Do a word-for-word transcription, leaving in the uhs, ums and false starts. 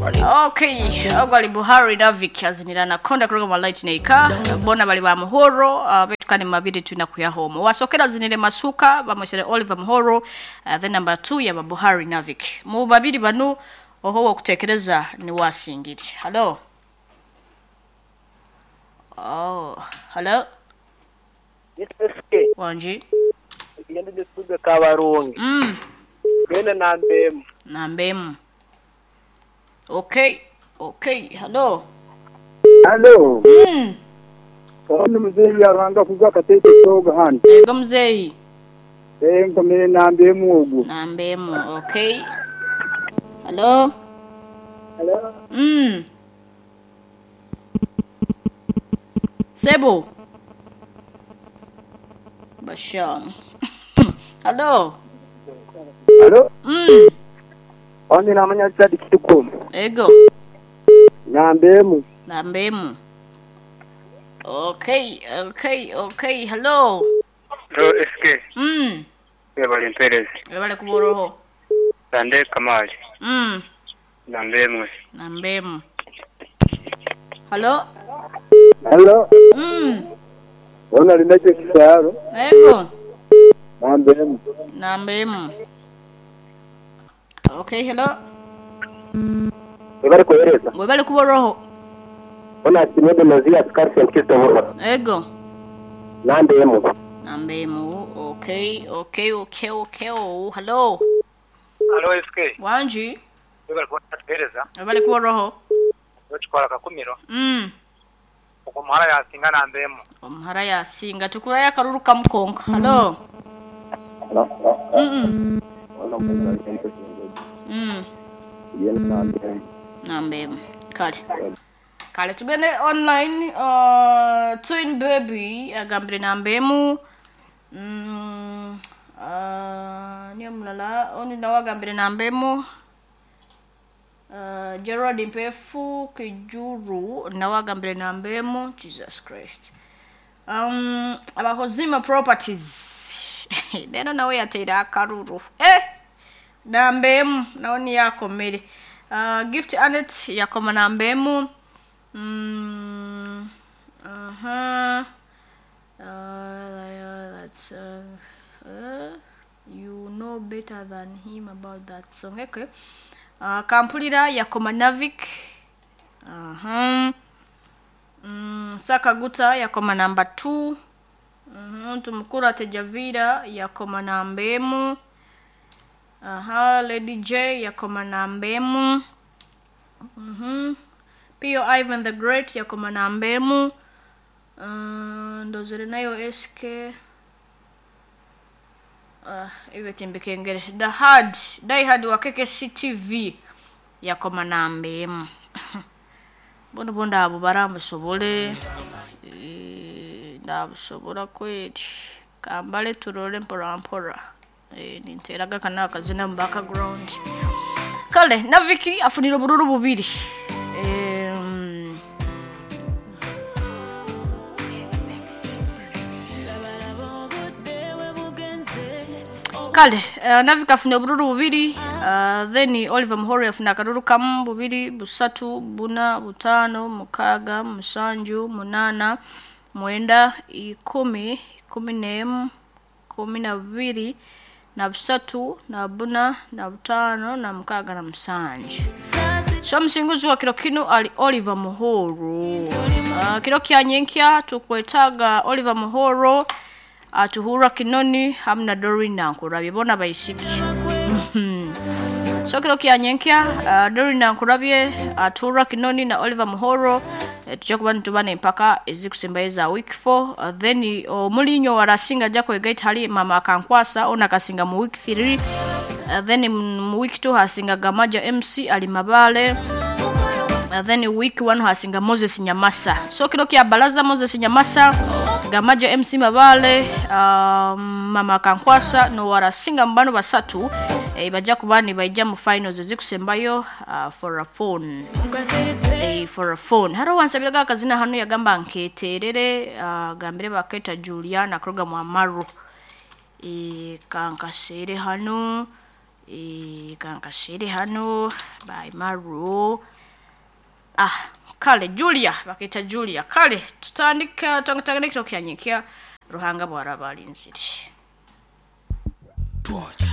Okay, ogwali Buhari Davik azinira na konda kuruga mu light neika bona bali ba Muhoro uh, betukane mabiri tuna kuyahomo wasokera zinire masuka bamwesere Oliver Muhoro uh, then number two ya ba Buhari Navik mu babiri banu oho okutekereza ni wasingiri. Hello. Oh, hello. S K. Wanji. Yende disuga kabarungi. Mm. Bene nambemu. Nambemu. Okay. Okay. Hello. Hello. Mm. Ono mzee yaranga kuga katete toga hano. Yego mzee. Eh nkomere nambemu ogu. Nambemu. Okay. Hello. Hello. Mm. Sebo. Basham. Hello. Hello. Mm. Oni namanya chadi kituko. Ego. Nambemu. Nambemu. Okay, okay, okay. Hello. Hello S K. Mm. Ebale Perez. Ebale kuboroho. Sande Kamali. Mm. Nambemu. Nambemu. Hello. Hello. Mm. Ona linacho kisaro. Ego. Nambemu. Nambemu. Okay, hello. Ebale kuhereza. Ebale kuboroho. Ona simede mazia askari Kristo Muhoro. Ego. Nambemu. Nambemu. Okay, okay, okay, okay. Oh, hello. Hello S K. Wanji. Ebale kuhereza. Ebale kuboroho. Ochikola kakumiro. Mm. Omuhara yasinga nambemu. Omuhara yasinga tukuraya karuru kamukonka. Hello. Hello. Mm. Mm. Nambemu. Kale. Kale tugende online uh, Twin Baby agambire nambemu. Mm. Uh, niyo mulala oni nawe agambire nambemu. Uh, Gerard Mpefu Kijuru nawe agambire nambemu. Jesus Christ. Um, abahozima properties. Neno nawe yateera akaruru. Eh! Nambemu nawe niyakomere. Uh, Gift Anet yakoma nambemu. Mm, uh-huh. Uh, that's uh, uh, you know better than him about that song. Okay. Uh, Kampulira yakoma Navik. Uh-huh. Mm, Sakaguta yakoma number two. Uh-huh. Tumukura Tejavira yakoma nambemu. Aha, Lady J yakoma nambemu. Mhm. Pio Ivan the Great yakoma nambemu. Uh, ndozere nayo S K. Uh, iwe timbikengere. The Hard, Die Hard wa K K C T V yakoma nambemu. Bono bonda abo barambusobole. Eh, ndabusobora kweli. Kambale turole mpora mpora. Eh, ninteraga kana akazina mu background. Kale Naviki afunira bururu bubiri. Eh, Kale uh, Naviki afunira bururu bubiri, uh, then Oliver Muhoro afuna akaruru kamu bubiri, busatu, buna, butano, mukaga, musanju, munana, mwenda, ikumi, ikumi n'emu, kumi na bubiri, na busatu, na buna, na butano, na mukaga na musanju. So msinguzi wa kiro kino ali Oliver Muhoro. Uh, kiro kya nyenkya tukwetaga Oliver Muhoro atuhura Kinoni hamna Dorina nkurabye bona bayisiki. So kiro kya nyenkya uh, Dorina nkurabye atuhura Kinoni na Oliver Muhoro e, tujja kuba nitubana empaka ezikusembayo za week four. Uh, then omulinyo warasinga jako egaita hali mama akankwasa ona kasinga mu week three. Uh, then mu week two hasinga Gamaja M C ali Mabale. Uh, then week one hasinga Moses Nyamasa. So kiro kya balaza Moses Nyamasa, Gamaja M C Mabale, uh, mama akankwasa no warasinga mbano basatu e, bajja kuba ni baija mu finals ezikusembayo uh, for a phone. E, for a phone. Haro wansabiraga akazina hano yagamba nketerere uh, gambire baketa Juliana kroga mu Amaru. E, kankasere hano Eh, kankashere hano by Maro. Ah, kale Julia, bakita Julia. Kale tutandika tutandika ekiro kyanyinkya Ruhanga bwaraba alinzire. Twoja.